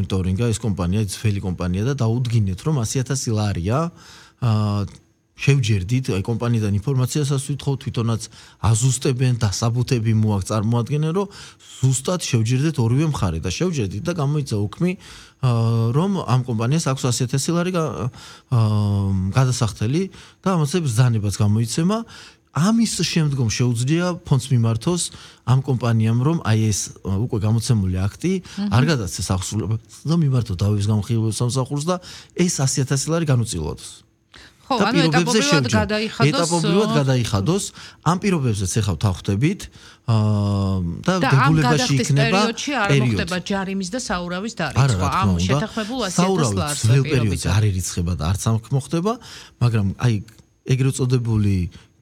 გამომონიტორინგა ეს კომპანია, ძველი კომპანია და დაუდგინეთ, რომ 100,000 ლარია შევჯერდით, აი კომპანიიდან ინფორმაციასაც ვითხოვთ, თვითონაც აზუსტებენ, დასაბუთები მოაქვს წარმოადგენენ, რომ ზუსტად შევჯერდეთ ორივე მხარე და შევჯერდით და გამოიცა უქმი, რომ ამ კომპანიას აქვს 100,000 ლარი გადასახდელი და ამაზე ბრძანებაც გამოიცემა. ამის შემდგომ შეუძლია ფონდს მიმართოს ამ კომპანიამ, რომ აი ეს უკვე გამოცემული აქტი არ გადაცეს ახსულებას და მიმართოს დავების გამხილველ სამსახურს და ეს 100,000 ლარი განუწილვადოს. ხო, ანუ ეტაპობრივად გადაიხადოს. ამ პირობებზეც ეხავ თავხდებით და დებულებაში იქნება არ მოხდება ჯარიმის და საურავის დარიცხვა. ამ შეთანხმებულ 100,000 ლარს პერიოდზე არ ირიცხება და არც ამ მოხდება, მაგრამ აი ეგრეთ წოდებული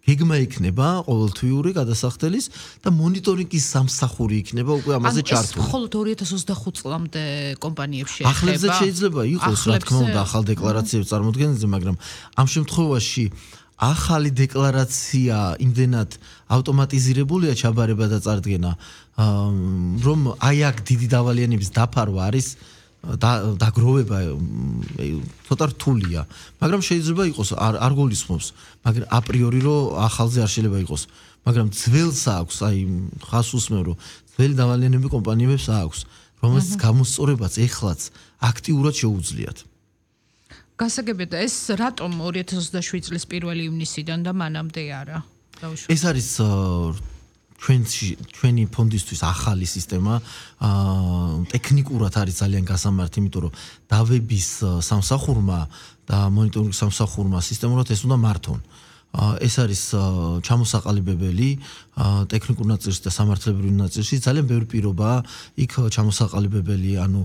გეგმა იქნება ყოველთვიური გადასახდელის და მონიტორინგის სამსახური იქნება უკვე ამაზე ჩართული. მხოლოდ 2025 წლამდე კომპანიებში ეხება. ახლებზე შეიძლება იყოს, რა თქმა უნდა, ახალ დეკლარაციებს წარმოქმნაზე, მაგრამ ამ შემთხვევაში ახალი დეკლარაცია იმდენად ავტომატიზირებულია ჩაბარება და წარდგენა, რომ აი აქ დიდი დავალიანების დაფარვა არის დაგროვება ცოტა რთულია, მაგრამ შეიძლება იყოს არ გულისხმობს, მაგრამ აპრიორი რომ ახალზე არ შეიძლება იყოს, მაგრამ ძველს აქვს, აი ხას უსმევ რომ ძველი დავალიანები კომპანიებს აქვს, რომელსაც გამოსწორებაც ეხლაც აქტიურად შეუძლიათ. გასაგებია, ეს რატომ 2027 წლის 1 ივნისიდან და მანამდე არა? ეს არის ჩვენი ფონდისთვის ახალი სისტემა, ტექნიკურად არის ძალიან გასამართი, იმიტომ რომ დავების სამსახურმა და მონიტორინგის სამსახურმა სისტემურად ეს უნდა მართონ. ეს არის ჩამოსაყალიბებელი ტექნიკურ ნაწილში და სამართლებრივ ნაწილში ძალიან ბევრი პირობაა იქ ჩამოსაყალიბებელი, ანუ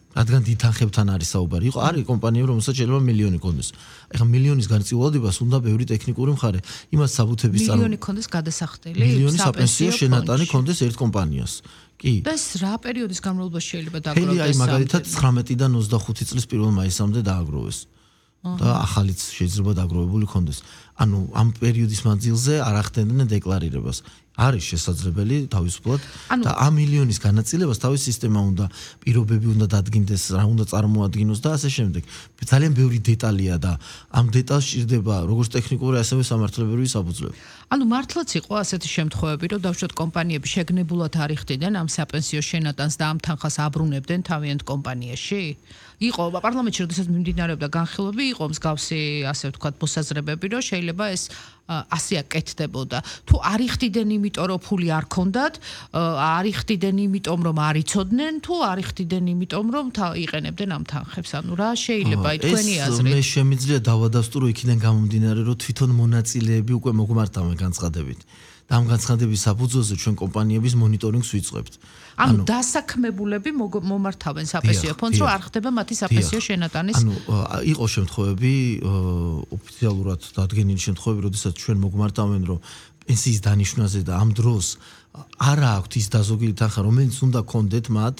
რადგან დიდ თანხებთან არის საუბარი. არის კომპანიები, რომელსაც შეიძლება მილიონი კონდეს. ეხლა მილიონის განწილვადებას უნდა ბევრი ტექნიკური მხარე. იმას საბუთების მილიონი კონდეს გადასახდელი, მილიონი საპენსიო შენატანი კონდეს ერთ კომპანიას. კი. და ეს რა პერიოდის განმავლობაში შეიძლება დააგროვდეს? აი მაგალითად 19-დან 25 წლის 1 მაისამდე დააგროვეს. და ახალიც შეიძლება დააგროვებული კონდეს. ანუ ამ პერიოდის მანძილზე არ ახდენდნენ დეკლარირებას. არის შესაძლებელი თავისუფლად და ამ მილიონის განაწილებას თავის სისტემა უნდა, პირობები უნდა დადგინდეს, რა უნდა წარმოადგინოს და ასე შემდეგ. ძალიან ბევრი დეტალია და ამ დეტალს სჭირდება როგორც ტექნიკური, ასევე სამართლებრივი საფუძვლები. ანუ მართლაც იყო ასეთი შემთხვევები, რომ დავუშვათ კომპანიები შეგნებულად არ იხდიდნენ ამ საპენსიო შენატანს და ამ თანხას აბრუნებდნენ თავიანთ კომპანიაში? იყო პარლამენტში, როდესაც მიმდინარეობდა განხილვები, იყო მსგავსი, ასე ვთქვათ, მოსაზრებები, რომ შეიძლება ეს ასე აკეთდებოდა. თუ არ იხდიდნენ იმიტომ, რომ ფული არ ქონდათ, არ იხდიდნენ იმიტომ, რომ არ იცოდნენ, თუ არ იხდიდნენ იმიტომ, რომ იყენებდნენ ამ თანხებს. ანუ რა შეიძლება თქვენი აზრით? მე შემიძლია დავადასტურო იქიდან გამომდინარე, რომ თვითონ მონაწილეები უკვე მოგმართავენ განცხადებით. და ამ განცხადების საფუძველზე ჩვენ კომპანიების მონიტორინგს ვიწყებთ. ანუ დასაქმებულები მომართავენ საპენსიო ფონდს, რომ არ ხდება მათი საპენსიო შენატანის. ანუ იყო შემთხვევები, ოფიციალურად დადგენილი შემთხვევები, როდესაც ჩვენ მოგმართავენ, რომ პენსიის დანიშვნაზე და ამ დროს არა აქვთ ის დაზოგილი თანხა, რომელიც უნდა კონდეთ მათ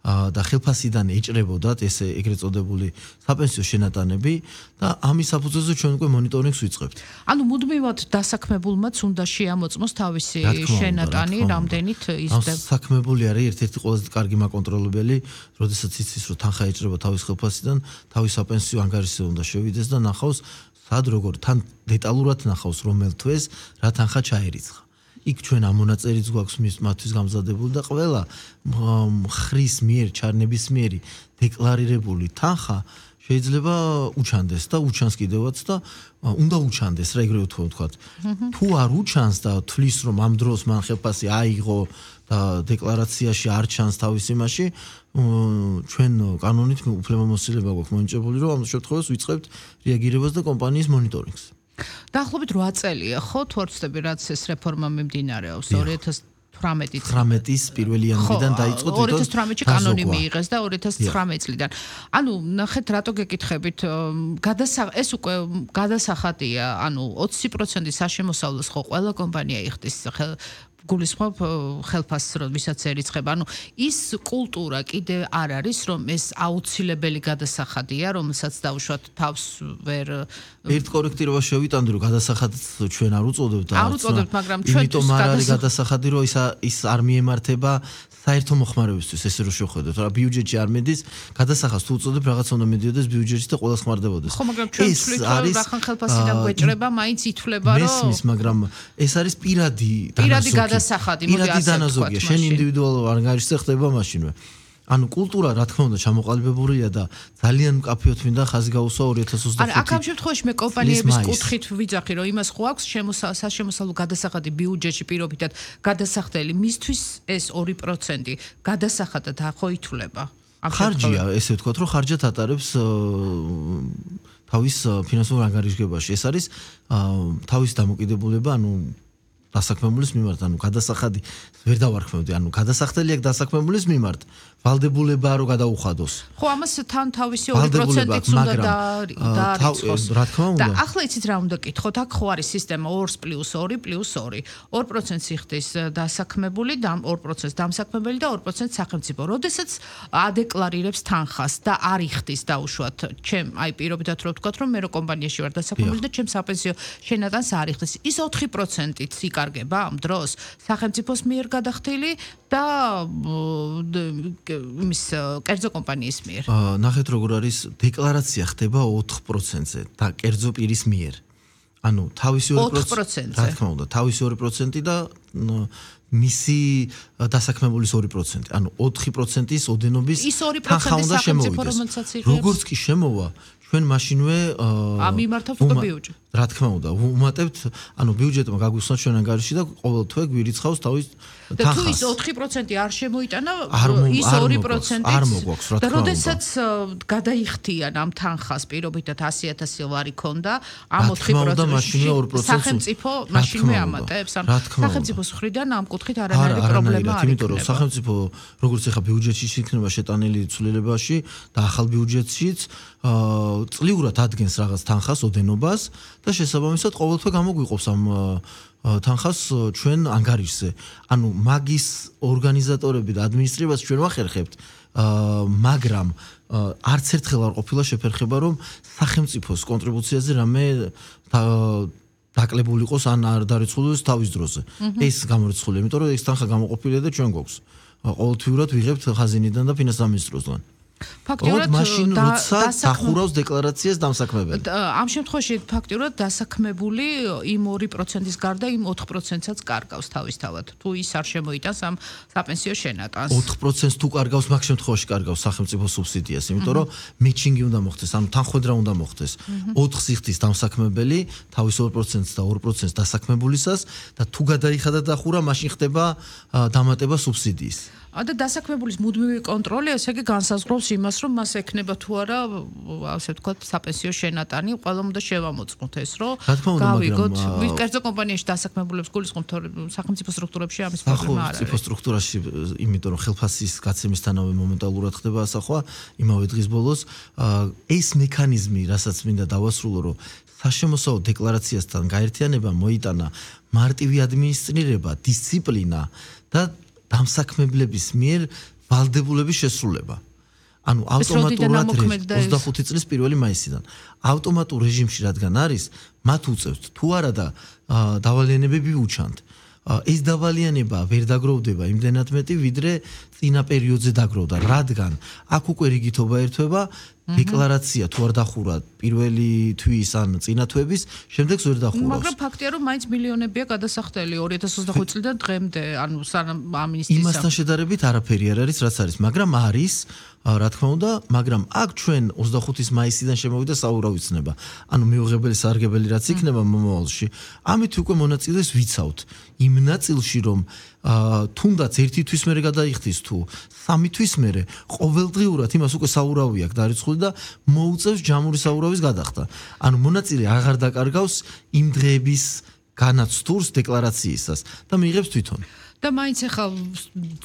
და ხელფასიდან ეჭრებოდათ ეს ეგრეთ წოდებული საპენსიო შენატანები და ამის საფუძველზე ჩვენ უკვე მონიტორინგს ვიწყებთ. ანუ მუდმივად დასაქმებულმაც უნდა შეამოწმოს თავისი შენატანი, რამდენით იზრდება. დასაქმებული არის ერთ-ერთი ყველაზე კარგი მაკონტროლებელი, როდესაც იცის, რომ თანხა ეჭრება თავის ხელფასიდან, თავის საპენსიო ანგარიშზე უნდა შევიდეს და ნახავს, სად როგორ თან დეტალურად ნახავს, რომელ თვეს რა თანხა ჩაერიცხა. იქ ჩვენ ამ მონაწერიც გვაქვს მათთვის გამზადებული და ყველა ხრის მიერ ჩარნების მიერი დეკლარირებული თანხა შეიძლება უჩანდეს და უჩანს კიდევაც და უნდა უჩანდეს რა ეგრევე ვთქვათ. თუ არ უჩანს და თვლის რომ ამ დროს მან ხელფასი აიღო და დეკლარაციაში არ ჩანს თავის იმაში, ჩვენ კანონით უფლებამოსილება გვაქვს მონიჭებული, რომ ამ შემთხვევას ვიწყებთ რეაგირებას და კომპანიის მონიტორინგს. დაახლოებით 8 წელია, ხო, თუ არ ვცდები, რაც ეს რეფორმა მიმდინარეობს 2018-ის 1 იანვრიდან დაიწყო თვითონ 2018-ში კანონი მიიღეს და 2019 წლიდან. ანუ ნახეთ, რატო გეკითხებით, ეს უკვე გადასახადია, ანუ 20% საშემოსავლოს ხო ყველა კომპანია იხდის გულისხმობ ხელფასს როდესაც ერიცხება. ანუ ის კულტურა კიდე არ არის, რომ ეს აუცილებელი გადასახადია, რომელსაც დაუშვათ თავს ვერ ერთ კორექტირებას შევიტანდი, რომ გადასახადს ჩვენ არ უწოდებთ და არ უწოდებთ, მაგრამ ჩვენთვის იმიტომ არ არის გადასახადი, რომ ის არ მიემართება საერთო მოხმარებისთვის, ესე რომ შევხედოთ, რა ბიუჯეტში არ მედის, გადასახადს თუ უწოდებ, რაღაცა უნდა მიდიოდეს ბიუჯეტში და ყველა ხმარდებოდეს. ხო, მაგრამ ჩვენ ვთვლით, რომ რახან ხელფასიდან გვეჭრება, მაინც ითვლება, რომ მესმის, მაგრამ ეს არის პირადი გადასახადი, მოდი ასე ვთქვათ. შენ ინდივიდუალურ ანგარიშზე ხდება მაშინვე. ანუ კულტურა რა თქმა უნდა ჩამოყალიბებულია და ძალიან მკაფიოდ მინდა ხაზი გაუსვა 2025. ანუ აქ ამ შემთხვევაში მე კომპანიების კუთხით ვიძახი, რომ იმას ხო აქვს საშემოსავლო გადასახადი ბიუჯეტში პირობითად გადასახდელი, მისთვის ეს 2% გადასახადად ხო ითვლება. ხარჯია, ესე ვთქვათ, რომ ხარჯად ატარებს თავის ფინანსურ ანგარიშგებაში. ეს არის თავის დამოკიდებულება, ანუ დასაქმებულის მიმართ, ანუ გადასახადი ვერ დავარქმევდი, ანუ გადასახდელი აქვს დასაქმებულის მიმართ, ვალდებულება რო გადაუხადოს. ხო, ამას თან თავისი 2%-იც უნდა დაარიცხოს. რა თქმა უნდა. და ახლა იცით რა უნდა გითხოთ, აქ ხო არის სისტემა 2+2+2. 2% იხდის დასაქმებული და 2% დამსაქმებელი და 2% სახელმწიფო. როდესაც ადეკლარირებს თანხას და არ იხდის დაუშვათ, ჩემ აი პირობითად რო ვთქვათ, რომ მე რო კომპანიაში ვარ დასაქმებული და ჩემ საპენსიო შენადანს არ იხდის. ის 4%-იც იკარგება ამ დროს სახელმწიფოს მიერ გადახდილი და იმის კერძო კომპანიის მიერ. ნახეთ როგორ არის დეკლარაცია ხდება 4%-ზე და კერძო პირის მიერ. ანუ თავისი 2%, რა თქმა უნდა, თავისი 2% და მისი დასაქმებულის 2%. ანუ 4%-ის ოდენობის თანხა უნდა შემოვიდეს. როგორც კი შემოვა, ჩვენ მაშინვე ამიმართავთ უკვე ბიუჯეტი. რა თქმა უნდა, უმატებთ, ანუ ბიუჯეტმა გაგვიხსნა ჩვენ ანგარიში და ყოველ თვე გვირიცხავს თავის და თუ ის 4% არ შემოიტანა, ის 2%-იც არ მოგვაქვს, რა თქმა უნდა. და როდესაც გადაიხდიან ამ თანხას პირობითად 100,000 ლარი ქონდა, ამ 4%-ში სახელმწიფო მაშინვე ამატებს. სახელმწიფოს მხრიდან ამ კუთხით არანაირი პრობლემა არ იმიტომ რომ სახელმწიფო როგორც ეხა ბიუჯეტში იქნება შეტანილი ცვლილებაში და ახალ ბიუჯეტშიც წლიურად ადგენს რაღაც თანხას ოდენობას და შესაბამისად ყოველთვე გამოგვიყოფს ამ თანხას ჩვენ ანგარიშზე. ანუ მაგის ორგანიზატორები და ადმინისტრირებას ჩვენ ვახერხებთ, მაგრამ არც ერთხელ არ ყოფილა შეფერხება, რომ სახელმწიფოს კონტრიბუციაზე რამე დაკლებული იყოს ან არ დარიცხულოს თავის დროზე. ეს გამორიცხულია, იმიტომ რომ ეს თანხა გამოყოფილია და ჩვენ გვაქვს. ყოველთვიურად ვიღებთ ხაზინიდან და ფინანსთა მინისტროსგან. ფაქტიურად მაშინ როცა დახურავს დეკლარაციას დამსაქმებელი. ამ შემთხვევაში ფაქტიურად დასაქმებული იმ 2%-ის გარდა იმ 4%-საც კარგავს თავისთავად. თუ ის არ შემოიტანს ამ საპენსიო შენატანს. 4%-ს თუ კარგავს, მაგ შემთხვევაში კარგავს სახელმწიფო სუბსიდიას, იმიტომ რომ მეჩინგი უნდა მოხდეს, ანუ თანხმედრა უნდა მოხდეს. 4-ს იხდის დამსაქმებელი, თავის 2%-ს და 2%-ს დასაქმებულისას და თუ გადაიხადა დახურა, მაშინ ხდება დამატება სუბსიდიის. და დასაქმებულის მუდმივი კონტროლი ესე იგი განსაზღვრავს იმას, რომ მას ექნება თუ არა, ასე ვთქვათ, საპენსიო შენატანი, ყველა უნდა შევამოწმოთ ეს, რომ გავიგოთ, კერძო კომპანიაში დასაქმებულებს გულისხმობთ, სახელმწიფო სტრუქტურებში ამის პრობლემა არ არის. სახელმწიფო სტრუქტურაში, იმიტომ რომ ხელფასის გაცემისთანავე მომენტალურად ხდება ასახვა, იმავე დღის ბოლოს, ეს მექანიზმი, რასაც მინდა დავასრულო, რომ საშემოსავლო დეკლარაციასთან გაერთიანება მოიტანა მარტივი ადმინისტრირება, დისციპლინა და დამსაქმებლების მიერ ვალდებულების შესრულება. ანუ ავტომატურად 25 წლის 1 მაისიდან ავტომატურ რეჟიმში რადგან არის, მათ უწევთ თუ არა და დავალიანებები უჩანთ. ეს დავალიანება ვერ დაგროვდება იმდენად მეტი, ვიდრე წინა პერიოდზე დაგროვდა, რადგან აქ უკვე რიგითობა ერთვება, დეკლარაცია თუ არ დახურა პირველი თვის ან წინა თვების, შემდეგს ვერ დახურავს. მაგრამ ფაქტია, რომ მაინც მილიონებია გადასახდელი 2025 წლიდან დღემდე, ანუ სანამ ამინისტრიის იმასთან შედარებით არაფერი არ არის, რაც არის, მაგრამ არის, რა თქმა უნდა, მაგრამ აქ ჩვენ 25 მაისიდან შემოვიდა საურავიცნება. ანუ მიუღებელი სარგებელი რაც იქნება მომავალში, ამით უკვე მონაწილეს ვიცავთ. იმ ნაწილში რომ თუნდაც ერთი თვის მერე გადაიხდის თუ 3 თვის მერე ყოველდღიურად იმას უკვე საურავი აქვს დარიცხული და მოუწევს ჯამური საურავის გადახდა. ანუ მონაწილე აღარ დაკარგავს იმ დღეების განაცდურს დეკლარაციისას და მიიღებს თვითონ. და მაინც ახლა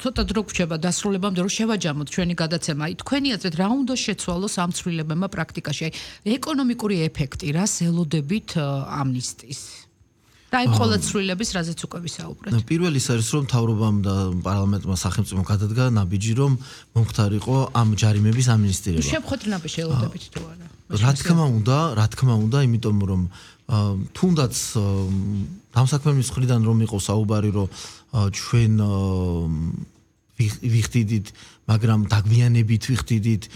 ცოტა დრო გვჭება დასრულებამდე რომ შევაჯამოთ ჩვენი გადაცემა. თქვენი აზრით რა უნდა შეცვალოს ამ ცვლილებებმა პრაქტიკაში? ეკონომიკური ეფექტი რას ელოდებით ამნისტიის? და აი ყველა ცვლილების რაზეც უკვე ვისაუბრეთ. პირველი ის არის რომ მთავრობამ და პარლამენტმა სახელმწიფომ გადადგა ნაბიჯი რომ მომხდარიყო ამ ჯარიმების ამნისტირება. შეხვედრინაბი შეელოდებით თუ არა? რა თქმა უნდა, იმიტომ რომ თუნდაც დამსაქმების მხრიდან რომ იყო საუბარი რომ ჩვენ ვიხდიდით, მაგრამ დაგვიანებით ვიხდიდით